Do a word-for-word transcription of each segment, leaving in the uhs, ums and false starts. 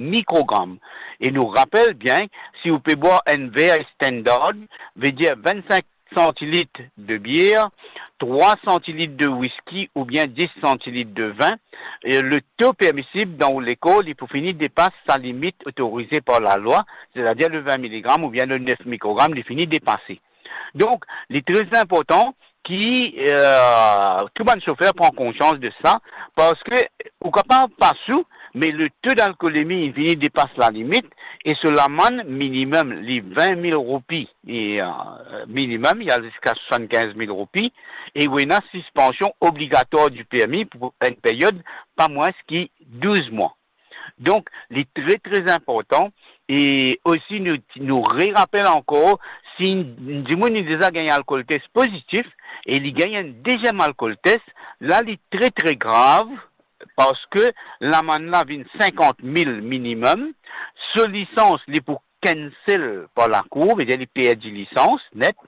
mikrogram. E nou rapel bien, si ou pe bwar enn ver standard, vedir vinn-sink santilit de bier, trwa santilit de wiski oubien dis santilit de vin, e le to permisib dan ou lekor, li pou fini depas sa limit otorize par lalwa, setadir le vin miligram oubien le nef mikrogram, li fini depase. Donk, li tre inportan ki, eh, tou bann sofer pran konsians de sa, parski ou kapav pa sou, me le to dalkolemi vini depas lalimit, e so lamann minimem, li vin mil roupi, e, eh, minimem, li al ziska swasannkinz mil roupi, e ou ena sispansion obligatwar di permi pou enn period pa mwins ki douz mwa. Donk, li tre, tre inportan. E osi, nou, nou rerapel ankor, si enn dimoun li deza gagn alkol tes pozitif e li gagn enn deziem alkol tes, la, li tre, tre grav, parski lamann la vinn sinkant mil minimem, so lisans, li pou cancel par lakour, vedir li perdi lisans net,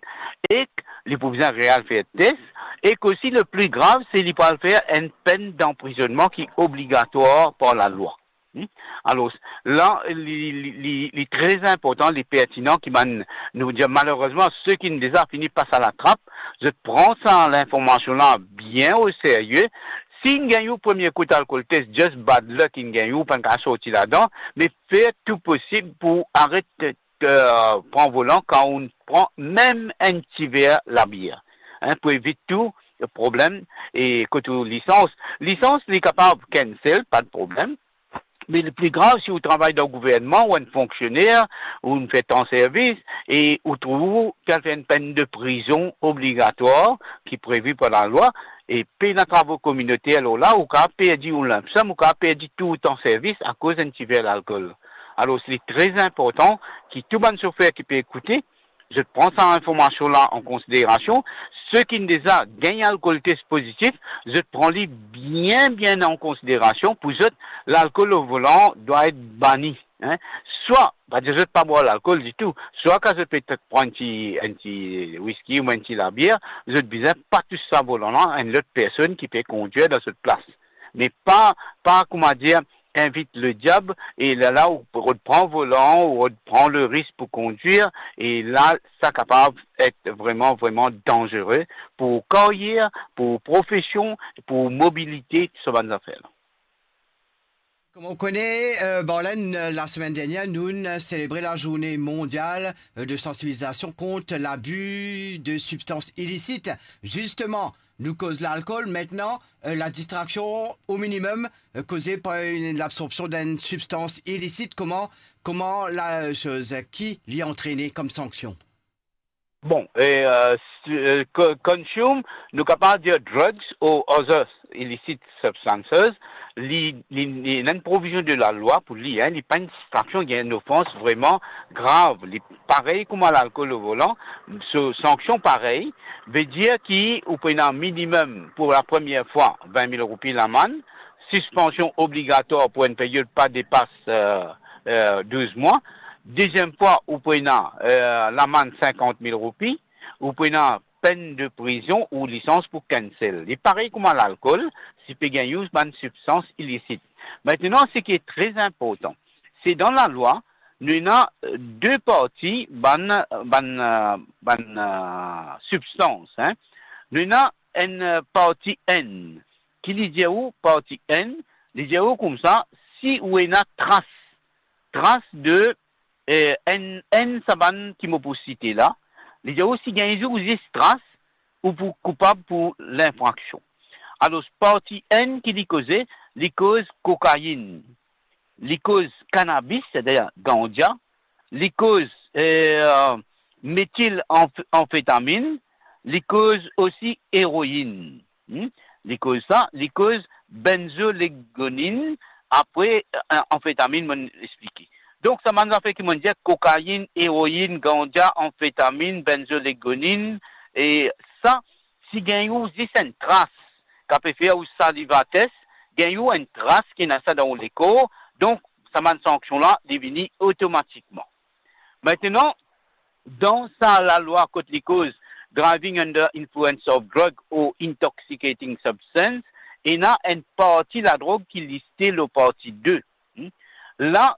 ek li pou bizin real fer tes, ek osi, le pli grav, se li pou al fer enn penn danprizonnman ki obligatwar par lalwa. Hmm? Alor, la, li, li, li, li tre inportan, li pertinan ki bann, nou dir, malerezman, seki deza fini pas a latrap, zot pran sa linformasion la bien o serye. Si inn gagn ou premie kout alkol tes, just bad luck, inn gagn ou, pa'nn kapav sorti ladan, me fer tou posib pou aret, eh, pran volan kan ou pran mem enn ti ver labier, hein, pou evit tou problem. E kot ou lisans, lisans, li kapav cancel, pa de problem. Me le pli grav, si ou travay dan gouvernman, ou enn fonksioner, ou inn fer tan servis, e ou trouv ou, ou al fer enn penn de prizon obligatwar ki previ par lalwa, e pena travo kominoter, lor la, ou kapav perdi ou lump sum, ou kapav perdi tou ou tan servis akoz enn ti ver lalkol. Alor, li tre inportan ki tou bann sofer ki pe ekoute, zot pran sa informasion la an konsiderasion. Seki deza gagn alkol tes pozitif, zot pran li bien, bien an konsiderasion. Pou zot, lalkol o volan dwa et bani, hein. Swa, pa dir zot pa bwar lalkol ditou, swa kan zot pe pran enn ti, enn ti wiski ou enn ti labier, zot bizin pa tous sa volan la enn lot personn ki pe kondir dan zot plas. Me pa, pa, kouma dir, invit lediab, e lerla ou rod pran volan, ou rod pran le risk pou kondir, e la, sa kapav et vreman, vreman danzere pou karyer, pou profesion, pou mobilite, tou sa bann zafer la. Kouma ou kone, eh, Barlen, eh, lasemenn dernier, nou'nn selebre lazourne mondial, eh, de sansibilizasion kont labi de sibstans ilisit. Zisteman, nou koz lalkol, aster, eh, ladistraksion o minimem, eh, koze par enn, labsorpsion d'enn sibstans ilisit, kouma, kouma la, eh, soz, eh, ki li antrene kom sanksion? Bon, e, eh, s-, eh, co-, consume, nou kapav dir drugs or other illicit substances, li, li, li ena enn provizion de lalwa pou li, hein, li pa enn distraction, li enn ofans vreman grav. Li parey kouma lalkol o volan, so sanksion parey, vedir ki ou pou ena minimem pou lapremier fwa vin mil roupi lamann, sispansion obligatwar pou enn period pa depas, eh, eh, douz mwa. Deziem fwa, ou pou ena, eh, lamann sinkant mil roupi, ou pou ena penn de prizon ou lisans pou cancel. Li parey kouma lalkol, si pe gagn ou bann sibstans ilisit. Aster, seki tre inportan, se dan lalwa, nou ena, eh, de parti bann, bann, eh, bann, eh, sibstans, hein. Nou ena enn, eh, parti enn, ki li dir ou, parti enn, li dir ou koumsa, si ou ena tras, tras de, eh, enn, enn sa bann ki mo pou site la, li dir ou si gagn ou zis tras, ou pou koupab pou linfraksion. Alor, parti enn ki li koze, li koz kokainn, li koz kanabis, setadir ganza, li koz, eh, metil anf-, anfetamin, li koz osi eroin. Hmm? Li koz sa, li koz benzolegoninn, apre, eh, anfetamin, mo'nn explike. Donk, sa bann zafer ki mo'nn dir, kokainn, eroin, ganza, anfetamin, benzolegoninn, e sa, si gagn ou zis enn tras, kapav fer ou saliva test, gagn ou enn tras ki ena sa dan ou lekor, donk sa bann sanksion la, li vini otomatikman. Aster, dan sa lalwa kot li koz driving under influence of drug or intoxicating substance, ena enn parti ladrog ki liste lor parti de. Hmm? La,